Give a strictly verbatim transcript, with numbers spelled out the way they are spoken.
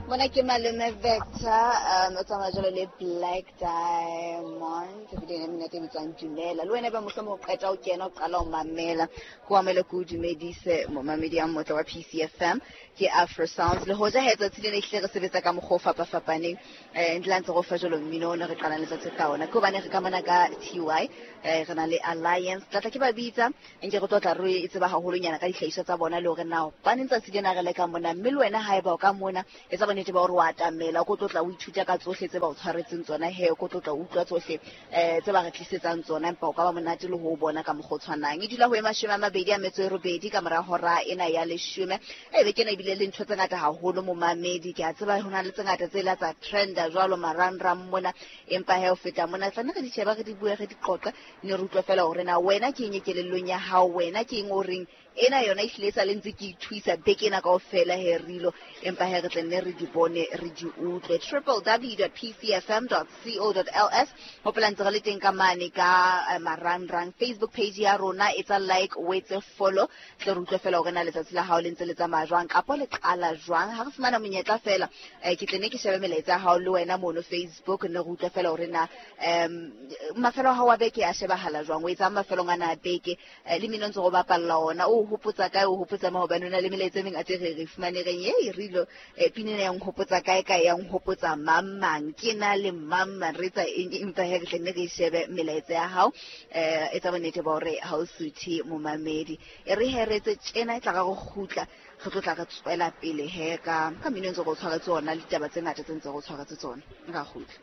Mona ke malome Vector, um o tsamaya jalo le Black Diamond, ebile e monate e bitswang Dumela. Le wena ba mohlomong o qeta o kena o qala o mamela, ko amele ko o dumedise momamedi ya motle wa P C F M, ke Afro Sounds. Le hoja he tsatsi lena ehlile re sebetsa ka mokgwa o fapafapaneng, eh, ntle ntse go fa jalo mmino o ne re qalang letsatsi ka ona. Ke hobane re ka mona ka T Y, eh, re na le Alliance. Tlatla ke ba bitsa, nke re tlo tla re e tseba haholonyana ka dihlahiswa tsa bona le hore na hobaneng tsatsi lena re leka mona, mme le wena haeba o ka mona, etsa bonnete ba hore o atamela, o ko tlotla o ithuta ka tsohle tse ba o tshwaretseng tsona he, o ko tlotla o utlwa tsohle, eh, tse ba re tlisetsang tsona, empa o ka ba monate le ho bona ka mokgwa o tshwanang. E dula ho e mashome a mabedi a metso e robedi ka mora hora ena ya leshome. E beke ena ebile le ntho tse ngata haholo momamedi, ke a tseba ho na le tse ngata tse la tsa trenda jwalo marangrang mona, empa he ho feta mona tla nne re di sheba, re di bue, re di qoqe, ne re utlwe fela hore na wena ke eng e kelellong ya hao, wena ke eng o reng ena yona ehlile e sa le ntse ke ithuisa beke ena kaofela he rilo, empa he re tla nne re di bone, re di utlwe. Triple W dot P C F M dot C O dot L S. Hopola ntse re le teng ka mane ka, eh, marangrang. Facebook page ya rona, etsa like, o etse follow, tle re utlwe fela hore na letsatsi la hao le ntse le tsamaya jwang kapo le qala jwang. Ha re fumana monyetla fela, eh, ke tle ne ke shebe melaetsa ya hao le wena mono Facebook, ne re utlwe fela hore na, em, mafelo a hao a beke a shebahala jwang, o etsang mafelong ana a beke, eh, le mmino ntse go bapalla ona, o hopotsa kae, o hopotsa ma hobane o na le melaetsa e mengata e re re fumane reng, ei, rilo, eh, pina ena ya nhopotsa kae, kae, ya nhopotsa mang, mang, ke na le mang, mang, re etsa eng, empa he re tle nne re shebe melaetsa ya hao, eh, etsa bonnete ba hore ha o suthe momamedi. E re he re etse tjena, e tla ra go kgutla, re tlo tla re tswela pele he ka, ka mmino ntse go tshwaretse ona, le ditaba tse ngata tse ntse go tshwaretse tsona. Nka kgutla.